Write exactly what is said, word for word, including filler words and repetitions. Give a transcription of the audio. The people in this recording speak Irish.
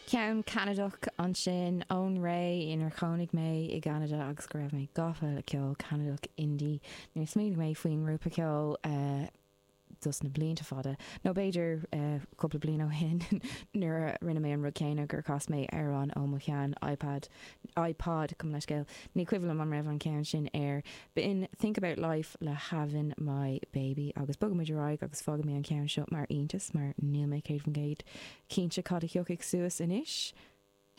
Ceann Ceanadach ansin ón ré inar chónaigh mé i gCeanada agus go raibh mé gafa le ceol Ceanadach indie. Níor smaoinigh mé faoin ngrúpa ceoil uh, dos na blianta fada. Nó b'fhéidir uh, cúpla bliain ó shin nuair a rinne mé an rud céanna gur chas mé ar an ó mo shean iPad iPod cum leiscéil ní cuimhin an raibh an ceann sin air. B'in Think About Life le Having My Baby agus bogaimid ar aghaidh agus fágfaidh mé an ceann seo mar iontas mar níl mé céad faoin gcéad cinnte cad a thiocfaidh suas anois.